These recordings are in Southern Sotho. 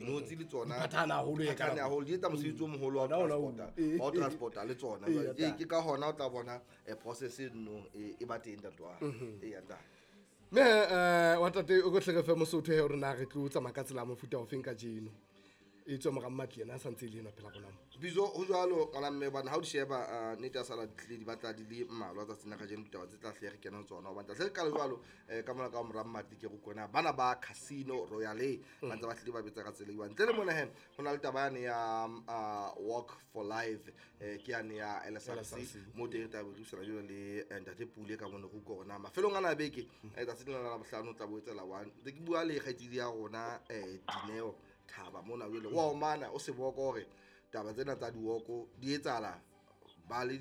Notsi le tsona Di phathahane haholo e ka phathahane nako. haholo, di etsa mosebetsi o moholo wa Ona ona o- transporta, eh, wa ho eh, transporta le tsona. eh, Jwale ya tla. ke ka hona o tla bona process e nno e ba teng, ntate wa e ya ntate. Mme wa tate, o ko tle re fe Mosotho he hore na re tlo tsamaya ka tsela ya mofuta ofeng ka jeno, e tswa mora Mmatli yena a santse e le enwa phela rona mo. Bizo ho jwalo, ngwana mme, hobane ha o di sheba, nnete ya sala ditlile di batla di le mmalwa tsatsing la kajeno, ditaba tse tla hle re kena ho tsona, hobane tla hle re qale jwalo ka mona ka mora Mmatli, ke re kona bana ba Casino Royale ba ntse ba hlile ba betsa ka tsela e jwang. Ntle le mona he, ho na le taba yane ya Walk for Life, ke yane ya LSRC, LSRC. mo teng re tla be re buisana jwalo le ntate Pule ka mone, re utlwa hore na mafelong ana a beke, tsatsi lena la Labohlano o tla bo etsela one. Ntse ke bua le kgaitsedi ya rona Dineo Thaba mona, jwale wa omana o seboko hore taba tsena tsa diwoko di etsahala ba le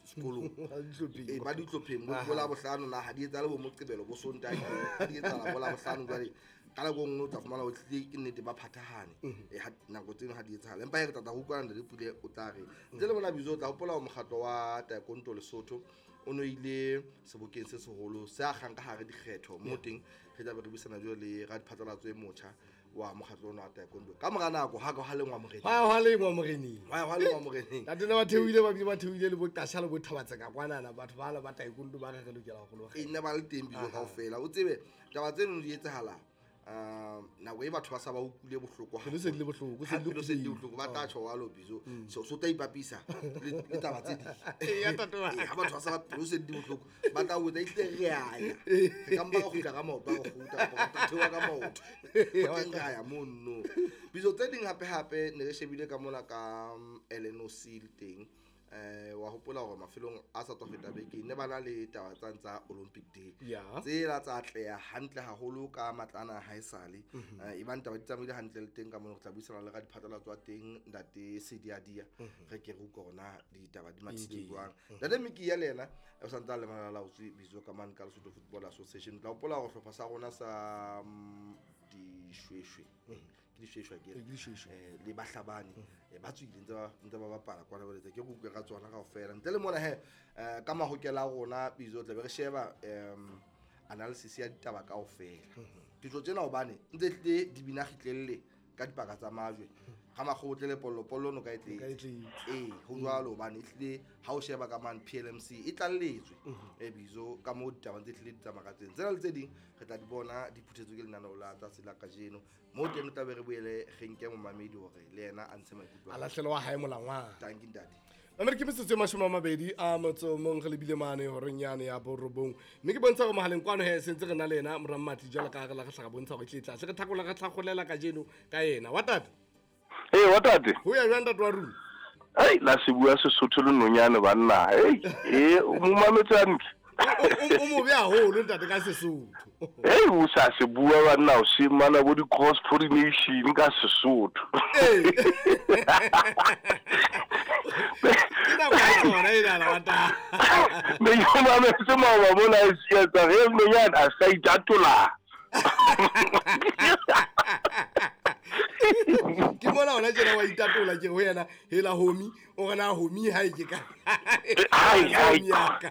sekolong. Ba dihlopheng. Ee, ba dihlopheng bo Labohlano na ha di etsahale bo Moqebelo, bo Sontaha, ha di etsahala bo Labohlano. Jwale ka nako e nngwe o tla fumana ho tlile ke nnete ba phathahane. Nako tseno ha di etsahale, empa he re tlatla ho utlwana le Pule, o tla re ntle le mona Bizo. O tla hopola hore mokgatlo wa taekwondo Lesotho o no ile sebokeng se seholo se akgang ka hare dikgetho, mo teng re tlabe re buisana jwalo le radiphatlalatso e motjha wa mokgatlo ona wa taekwondo ka mora nako ha ka ha lengwa moreneng. Hwa lengwa moreneng. Hwa lengwa moreneng. Tate ne ba theohile, ba bile ba theohile le boqasha le bothabatseka kwanana, batho ba la ba taekwondo ba re re lokela ho e nne ba le teng Bizo kaofela. O tsebe taba tseno di etsahala nako e batho ba sa ba utlwile bohloko. Pelo se di le bohloko, se Ha di le pelo se di le bohloko. bohloko, ba tla tjho walo Bizo, so tla ipapisa le taba tse ding. Ee, ya tate wa Ee, ha batho ba sa ba pelo se di bohloko, ba tla botsa ehlile re a ya, re ka mpa ra kgutla ka maoto, a re kgutla kapa re tla theoha ka maoto. Ho teng re a ya mono Bizo. Tse ding hape hape ne re shebile ka mona ka LNOC le teng, wa hopola hore mafelong a sa tswa feta beke ne ba na le taba tsane tsa Olympic Day, tsela tsa atleha hantle haholo ka matlana ha esale. Ebang taba di tsamaile hantle le teng ka mona, re tla buisana le radiphatlalatso wa teng, ntate Sediadia, re ke re utlwe hore na ditaba di mathile jwang. Ntate Miki ya le yena o santse a le malalaotswe Bizo ka mane ka Lesotho Football Association. Tla hopola hore hlopha sa rona sa dishweshwe, ke dishweshwe akere? Ke dishweshwe. Le bahlabani ba tswile ntse ba bapala kwana, ba letse ke re utlwe ka tsona kaofela. Ntle le mona he, ka mahokela a rona Bizo, tla be re sheba analysis ya ditaba kaofela. Ditso tsena hobane ntse tlile di bina kgitlelle ka dipaka tsa majwe ga makgobotle le pollo pollo no ka e Ka e tletse. tletse. Ee, ho jwalo, hobane ehlile ha o sheba ka mane PLMC e tlalletswe Bizo ka moo ditaba tse hlile di tsamaya ka teng. Tsena le tse ding re tla di bona di phuthetswe ke lenaneo la tsatsi la kajeno, mo teng re tla be re boele re nke momamedi hore le yena a ntshe maikutlo a a hae. Lahlelwa wa hae molangwana. Tanki ntate. Mamedi, ke metsotso e 29 re lebile mane horeng yane ya 9, mme ke bontsha gore mogaleng kwano he sentse re na le ena mora Mmatli, jalo ka re la re tlhaga bontsha gore e tle tle re thakola re tlhagolela kajeno ka ena wa tate. Ee, wa tate. Ho ya jwang, ntate wa rona? Ei, la se bua Sesotho le nonyane banna. Ei, e o mo mametse hantle. O mobe haholo ntate ka Sesotho. Ei, o sa se bua banna, o se mana bo di-cross pollination ka Sesotho. Ee. Ke nako ya tsona enana wa tate. Ne ke o mametse maoba mona e sietsa ge nonyane a sa itatola. Ke mona hona tjena wa itatola, ke ho yena hela homi o re na homi ha e ke ka Ai, ai. Homi ya ka.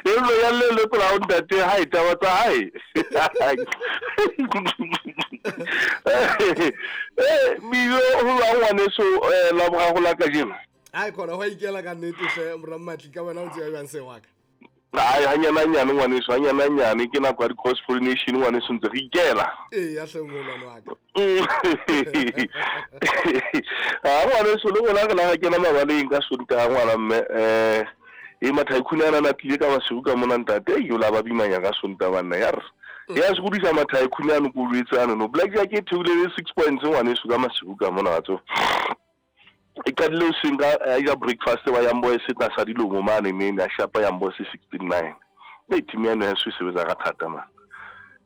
E nonyane le lekola ho ntate hae taba tsa hae. Bizo ho jwang ngwaneso, Laboraro la kajeno? Ai khona ho ikela ka nnete hle mora Mmatli, ka wena o tseba jwang se wa ka? Ai, hanyane-hanyane ngwaneso, hanyane-hanyane, ke nako ya di-cross pollination ngwaneso, ntse re ikela. Ee, ya hle moholwane wa ka. Ha ngwaneso, le rona re la ra kena mabaleng ka Sontaha ngwana mme, e mathaekhune ana a tlile ka masiu ka mona ntate, ei, o la ba bimanya ka Sontaha banna, ya re. Ya sokodisa mathaekhune ano ko jwetse ano no. Blackjack e theohile le 6 points ngwaneso ka masiu ka mona wa tseba. E qadile hoseng ka a ja breakfast ba Young Boys tlasa dilomo mane nene, a shapa Young Boys 16-9. Ei, team ya heso e sebetsa ka thata man.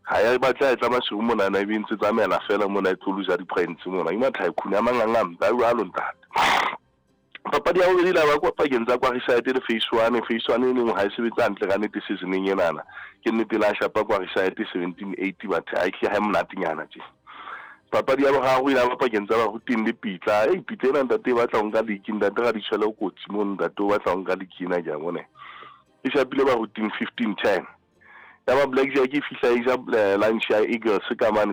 Ha ya batla e tla masiu mona na e be ntse tsamaela fela mona e tlo loser di-points mona. Ke mathaekhune a manganga a jwalo ntate. Papadi ya bobedi la ba kwa pakeng tsa Kwariside le Phase 1. Phase 1 e leng ha e sebetse hantle ka nnete seasoneng enana. Ke nnete la shapa Kwariside 17-8, batho ha e hle ha e monatenyana tje. Papadi ya boraro e la ba pakeng tsa Baruting le Pitla. Ei, Pitla ena ntate e batla ho nka league, ntate ra di tshwele o kotsi mono, ntate o batla ho nka league ena ke a bona. E shapile Baruting 15-10. Ya ba Blackjack e fihla e ja lunch ya Eagles ka mane.